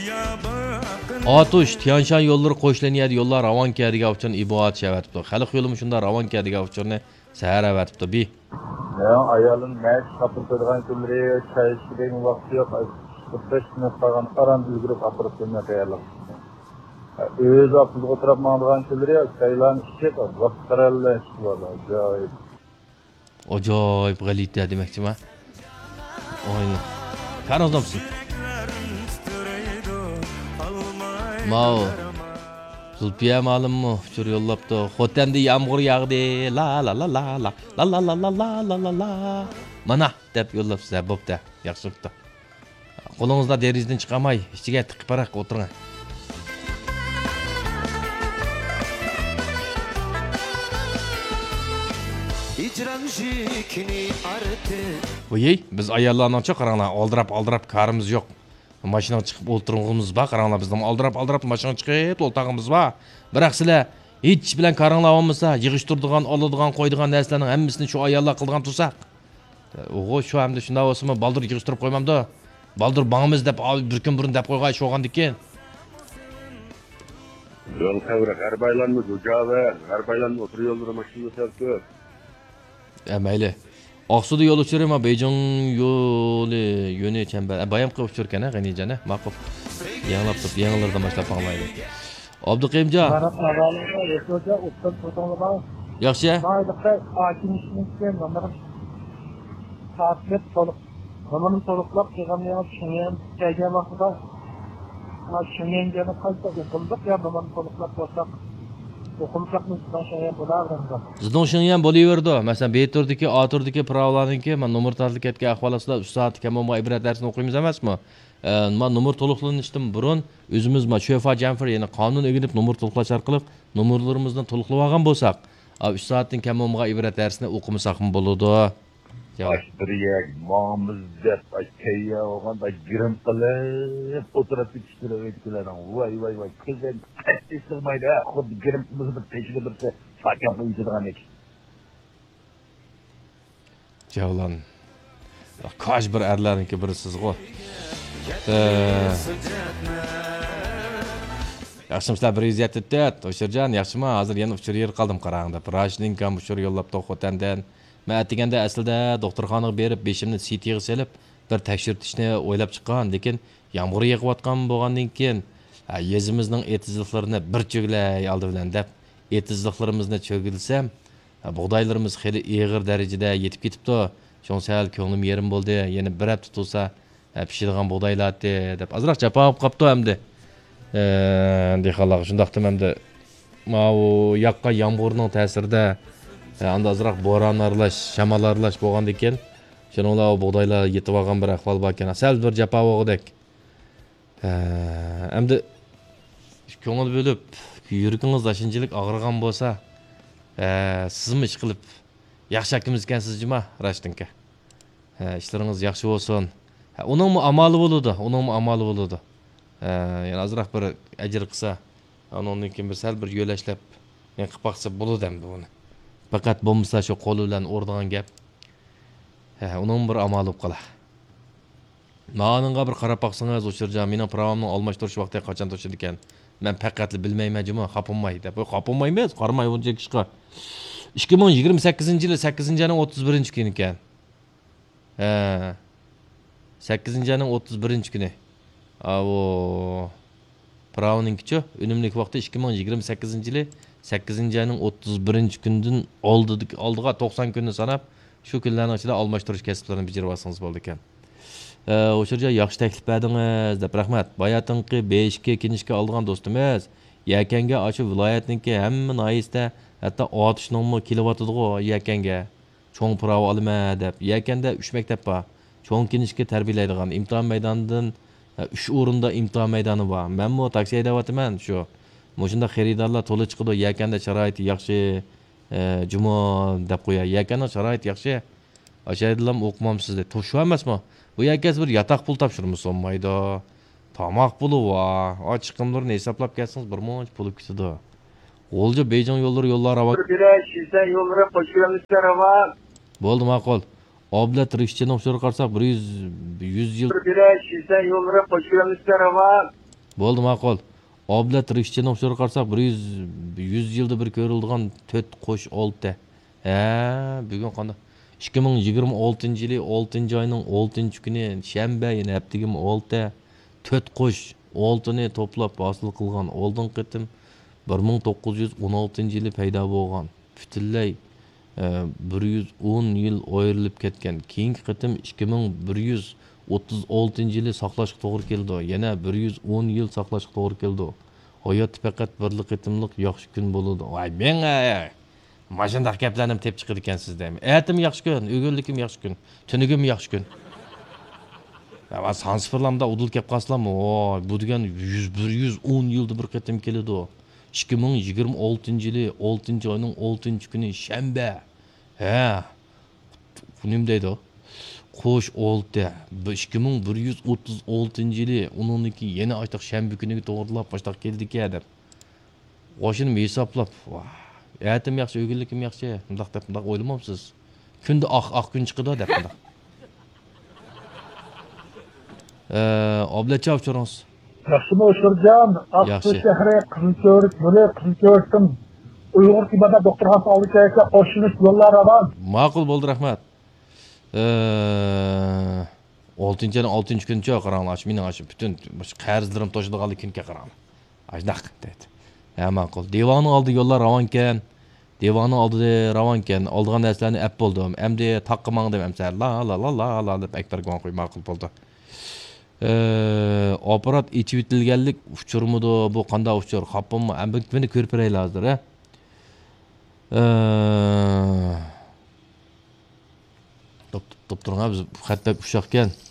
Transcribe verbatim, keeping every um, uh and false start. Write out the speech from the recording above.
ئاتۇش، تيانشان يوللىرى قوش لىنىيەدە يوللار راۋانكەن دېگەن ئۇچۇرنى ئىبو ئاتۇش ئەۋەتىپتۇ. خەلق يولىمۇ شۇنداق راۋانكەن دېگەن ئۇچۇرنى سەھەر ئەۋەتىپتۇ. بى. مېنىڭ ئايالىم مەيىش ئاپىرىپ قويىدىغان كۈنلىرى چاي ئىچىدىغان ۋاقتى يوق. بەش مىنۇت قالغان ئاران ئۈلگۈرۈپ ئاپىرىپ قويماي تەييارلىق. ئۆزى ئاپتوبۇسقا ئولتۇرۇپ ماڭىدىغان كۈنلىرى چايلارنى ئىچىپ، ۋاقىت قەرەللەر ئىچىپ بولىدۇ. ئاجايىپ. ئاجايىپ غەلىتە دېمەكچىما؟ ئاينى. كارىڭىز نوپسى. ماۋۇ. زۇلپىيە مالىممۇ ئۇچۇر يوللاپتۇ. خوتەندە يامغۇر ياغدى. لا لا لا لا لا. لا لا لا لا لا لا لا لا. مانا دەپ يوللاپسىز ھە، بوپتۇ. ياخشى بوپتۇ. قولىڭىزدا دېرىزىدىن چىقارماي، ئىچىگە تىقىپ پاراق ئولتۇرۇڭ. ۋويەي، بىز ئاياللارنىڭچۇ قاراڭلار، ئالدىراپ-ئالدىراپ كارىمىز يوق. ماشىنىغا چىقىپ ئولتۇرغىنىمىز بار، قاراڭلار، بىزنىڭ ئالدىراپ-ئالدىراپ ماشىنىغا چىقىپ ئولتۇرغىنىمىز بار. بىراق سىلەر ھېچ ئىش بىلەن كارىڭلار بولمىسا، يىغىشتۇرىدىغان، ئالىدىغان، قويىدىغان نەرسىلەرنىڭ ھەممىسىنى شۇ ئاياللار قىلىدىغان تۇرسا. ئوغۇ، شۇ ئەمدى شۇنداق بولسىمۇ، بالدۇر يىغىشتۇرۇپ قويمامدۇ؟ بالدۇر ماڭىمىز دەپ، ئا، بىر كۈن بۇرۇن دەپ قويغان ئىش بولغاندىكىن. يول تەۋرە، غەربايلانما زۇجاۋە، غەربايلانما ئوتتۇرا يوللىرى ماشىنىدا سەل كۆپ. ئە، مەيلى. ئاقسۇدا يول ئۇچۇرى ما بېيجىڭ يولى، يۆنى چەمبەر. ئە، بايامقى ئۇچۇركەن، ھە، غېنىجان، ھە؟ ماقۇل. يېڭىلاپ تۇرۇپ، يېڭىلىرىدىن باشلاپ ئاڭلايلى. ئابدۇقېيىمجان. مانا ئەھۋالىڭلار ياخشى بولسا، ئوبدان تۇردۇڭلارمۇ؟ ياخشى. مايلىقتا ئاكىمىشنىڭكى نومۇرى تارتىپ تولۇق، نومۇرنى تولۇقلاپ قىلغانلىقىڭىز شېڭيەن كەلگەن ۋاقتىدا، شېڭيەنگە قايتا ئوقۇلدۇق يا نومۇرنى تولۇقلاپ بولساق، ئوقۇمىساقمۇ زىدۇڭ شېڭيەن بولاۋېرىدۇ. زىدۇڭ شېڭيەن بولۇۋېرىدۇ. مەسىلەن، بې تۈردىكى، ئا تۈردىكى پىراۋىلارنىڭكى، مانا نومۇر تارتىلىپ كەتكەن ئەھۋال ئاستىدا ئۈچ سائەتتە كەم بولمىغان ئىبرەت دەرسىنى ئوقۇيمىز ئەمەسمۇ؟ ئە، ما نومۇر تولۇقلىنىشتىن بۇرۇن ئۆزىمىز ما شۆفا جەنفېر، يەنى قانۇن ئۆگىنىپ نومۇر تولۇقلاش ئارقىلىق نومۇرلىرىمىزنى تولۇقلىۋالغان بولساق، ئا، ئۈچ سائەتتىن كەم بولمىغان ئىبرەت دەرسىنى ئوقۇمىساقمۇ بولىدۇ. ياق. بىر يەرگە ماڭىمىز دەپ، ئاي، تەييار بولغان، ئاي، گىرىم قىلىپ ئولتۇرۇپ كېتىشتۇرۇۋېتىپتىلەر. ۋاي، ۋاي، ۋاي، كۆزدىن قەتئىي سىغمايدۇ، ھە، خۇددى گىرىم قىلمىسا بىر تېشىدا بىرسى ساكاپ ئۆتىدىغاندەك. جەۋلان. كاج بىر ئەرلەرنىڭكى بىرى سىزغۇ. ئە، ياخشىمۇسىلەر؟ بىر يۈز يەتتە تۆت، ئۇچۇرجان، ياخشىمۇ؟ ھازىر يەنە ئۇچۇر يېرى قالدىم قاراڭ دەپ. راشىدىنكام ئۇچۇر يوللاپتۇ خوتەندىن. مەن ئەتىگەندە ئەسلىدە دوختۇرخانىغا بېرىپ، بېشىمنى سىتىغا سېلىپ، بىر تەكشۈرتۈشنى ئويلاپ چىققان، لېكىن يامغۇر يېغىۋاتقان بولغاندىن كېيىن، ھە، يېزىمىزنىڭ ئېتىزلىقلىرىنى بىر چۆگىلەي ئالدى بىلەن دەپ، ئېتىزلىقلىرىمىزنى چۆگىلىسەم، ھە، بۇغدايلىرىمىز خېلى ئېغىر دەرىجىدە يېتىپ كېتىپتۇ. شۇڭا سەل كۆڭلۈم يېرىم بولدى. يەنە بىر ھەپتە تۇرسا، ھە، پىشىدىغان بۇغدايلارتى دەپ ئازراق جاپا بولۇپ قاپتۇ ئەمدى. ئە، دېھقانلارغا شۇنداقتىمۇ ئەمدى ماۋۇ ياغقان يامغۇرنىڭ تەسىرىدە، ئە، ئاندا ئازراق بوران ئارىلاش، شامال ئارىلاش بولغاندىكىن، شۇنىڭ بىلەن ئۇ بۇغدايلار يېتىۋالغان بىر ئەھۋال باركەن. سەل بىر جاپا بولغۇدەك. ئە، ئەمدى كۆڭۈل بۆلۈپ، يۈرىكىڭىز ئاشۇنچىلىك ئاغرىغان بولسا، ئە، سىزمۇ ئىشقىلىپ ياخشى ئاكىمىز ئىكەنسىز جۇما، راشتىنكى. ھە، ئىشلىرىڭىز ياخشى بولسۇن. ھە، ئۇنىڭمۇ ئامالى بولىدۇ، ئۇنىڭمۇ ئامالى بولىدۇ. ھە، يەنە ئازراق بىر ئەجىر قىلسا، ئۇنىڭدىن كېيىن بىر سەل بىر يۆلەشلەپ، يەنە قىلىپ باقسا بولىدۇ ئەمدى ئۇنى. پەقەت بولمىسا شۇ قولى بىلەن ئۇرىدىغان گەپ. ھە، ئۇنىڭمۇ بىر ئامالى بولۇپ قالا. مانىڭغا بىر قاراپ باقسىڭىز، ئۇچۇرجان، مېنىڭ پىراۋامنىڭ ئالماشتۇرۇش ۋاقتى قاچان توشىدىكەن؟ مەن پەقەتلا بىلمەيمەن جۇمۇ، خاپىماي دەپ. ۋاي، خاپىمايمىز، قارىماي بۇنچە ئىشقا. ئىككى مىڭ يىگىرمە سەككىزىنچى يىلى سەككىزىنچى ئاينىڭ ئوتتۇز بىرىنچى كۈنى ئىكەن. ھە. سەككىزىنچى ئاينىڭ ئوتتۇز بىرىنچى كۈنى. ئاۋۇ. پىراۋنىڭكىچۇ؟ ئۈنۈملۈك ۋاقتى ئىككى مىڭ يىگىرمە سەككىزىنچى يىلى سەككىزىنچى ئاينىڭ ئوتتۇز بىرىنچى كۈنىدىن ئالدىدىكى، ئالدىغا توقسان كۈننى ساناپ، شۇ كۈنلەرنىڭ ئىچىدە ئالماشتۇرۇش كەسىپلىرىنى بېجىرىۋالسىڭىز بولىدىكەن. ئە، ئۇچۇرجان، ياخشى تەكلىپ بەردىڭىز دەپ رەھمەت. باياتىنقى بې ئىككى كىنىشكا ئالىدىغان دوستىمىز يەكەنگە ئاشۇ ۋىلايەتنىڭكى ھەممە ناھىيىسىدە، ھەتتا ئاتۇشنىڭمۇ كېلىۋاتىدىغۇ يەكەنگە. چوڭ پىراۋا ئالىمەن دەپ، يەكەندە ئۈچ مەكتەپ بار. چوڭ كىنىشكا تەربىيەلەيدىغان ئىمتىھان مەيدانىدىن، ئە، ئۈچ ئورۇندا ئىمتىھان مەيدانى بار. مەنمۇ تاكسى ھەيدەۋاتىمەن شۇ. مۇشۇنداق خېرىدارلار تولا چىقىدۇ، يەكەندە شارائىتى ياخشى، ئە، جۇمۇ دەپ قوياي. يەكەندە شارائىتى ياخشى. ئاشايدىلام ئوقۇمامسىز دەيدۇ. شۇ ئەمەسمۇ؟ بۇ يەكەنسى بىر ياتاق پۇل تاپشۇرمىسا بولمايدۇ. تاماق پۇلى بار. ئا، چىقىملىرىنى ھېسابلاپ كەلسىڭىز، بىر مۇنچە پۇل كېتىدۇ. غۇلجا بېيجىڭ يوللىرى يوللار راۋان. بىر بىرەر شىزەن يوللىرى قوشۇۋەرمىسە راۋان. بولدى، ماقۇل. ئابلەت رىشچىنىڭ ئۇچۇرىغا قارىساق، بىر يۈز، يۈز يىل. بىر بىرەر شىزەن يوللىرى قوشۇۋەرمىسە راۋان. بولدى، ماقۇل. ئابلەت رىشچىنىڭ ئۇچۇرىغا قارىساق، بىر يۈز، يۈز يىلدا بىر كۆرۈلىدىغان تۆت قوش ئالتە. ھە، بۈگۈن قانداق؟ ئىككى مىڭ يىگىرمە ئالتىنچى يىلى ئالتىنچى ئاينىڭ ئالتىنچى كۈنى شەنبە، يەنە ھەپتىگىمۇ ئالتە. تۆت قوش ئالتىنى توپلاپ ھاسىل قىلغان ئالدىنقى قېتىم بىر مىڭ توققۇز يۈز ئون ئالتىنچى يىلى پەيدا بولغان. پۈتۈنلەي، ئە، بىر يۈز ئون يىل ئايرىلىپ كەتكەن. كېيىنكى قېتىم ئىككى مىڭ بىر يۈز ئوتتۇز ئالتىنچى يىلى ساقلاشقا توغرا كېلىدۇ. يەنە بىر يۈز ئون يىل ساقلاشقا توغرا كېلىدۇ. ھاياتتا پەقەت بىرلا قېتىملىق ياخشى كۈن بولىدۇ. ۋاي مېڭە! ماشۇنداق گەپلەرنى تېپىپ چىقىدىكەنسىز دەيمەن. ئەتىمۇ ياخشى كۈن، ئۆگۈنلۈكۈم ياخشى كۈن، تۈنۈگۈم ياخشى كۈن. يا، سان سىفىرلاردا ئۇدۇل كەپ قالسىلارمۇ، ۋاي، بۇ دېگەن يۈز، بىر يۈز ئون يىلدا بىر قېتىم كېلىدۇ. ئىككى مىڭ يىگىرمە ئالتىنچى يىلى ئالتىنچى ئاينىڭ ئالتىنچى كۈنى شەنبە. ھە. بۇ نېمە دەيدۇ؟ قوش ئالتە. بۇ ئىككى مىڭ بىر يۈز ئوتتۇز ئالتىنچى يىلى، ئۇنىڭدىن كېيىن يەنە ئاشتاق شەنبە كۈنىگە توغرىلاپ ئاشتاق كېلىدىكەن دەپ. قوشۇنۇم ھېسابلاپ، ۋاھ، ئەتىم ياخشى، ئۆگۈنلۈكۈم ياخشى، مۇنداق دەپ، مۇنداق ئويلىمامسىز؟ كۈندە ئاق، ئاق كۈن چىقىدۇ دەپ مۇنداق. ئە، ئابلەتجان ئۇچۇرىڭىز. ياخشىمۇ ئۇچۇرجان؟ ئاقسۇ ياخشى. شەھىرى، قىزىلكۆۋرۈك، بۇنى قىزىلكۆۋرۈكتىن ئۇيغۇر تېبابەت دوختۇرخانىسى ئالدى كەلسە، قوشۇلۇش يوللار راۋان. ماقۇل، بولدى، رەھمەت. ئە، ئالتىنچى ئاينىڭ ئالتىنچى كۈنىچۇ، قاراڭلار، ئاشۇ مېنىڭ ئاشۇ پۈتۈن مۇشۇ قەرزلىرىم توشىدىغانلا كۈنكەن، قاراڭلار. ئاشۇنداق دەيدۇ. ھە، ماقۇل. دىۋاننىڭ ئالدى يوللار راۋانكەن. دىۋاننىڭ ئالدى راۋانكەن. ئالىدىغان نەرسىلەرنى ئەپ بولدۇم. ئەمدى تاغقا ماڭدىم ئەمسە. لا، لا، لا، لا، لا دەپ ئەكبەرگە ماڭا قوي، ماقۇل بولدى. ئە، ئاپپارات ئېچىۋېتىلگەنلىك ئۇچۇرمىدۇ؟ بۇ قانداق ئۇچۇر؟ خاپىمۇ؟ ئەمدى مېنى كۆرۈپ بېرەيلى ھازىر، ھە؟ ئە، توپ، توپ، توپ تۇرۇڭ، ھە، بىز خەت بەك ئۇششاقكەن.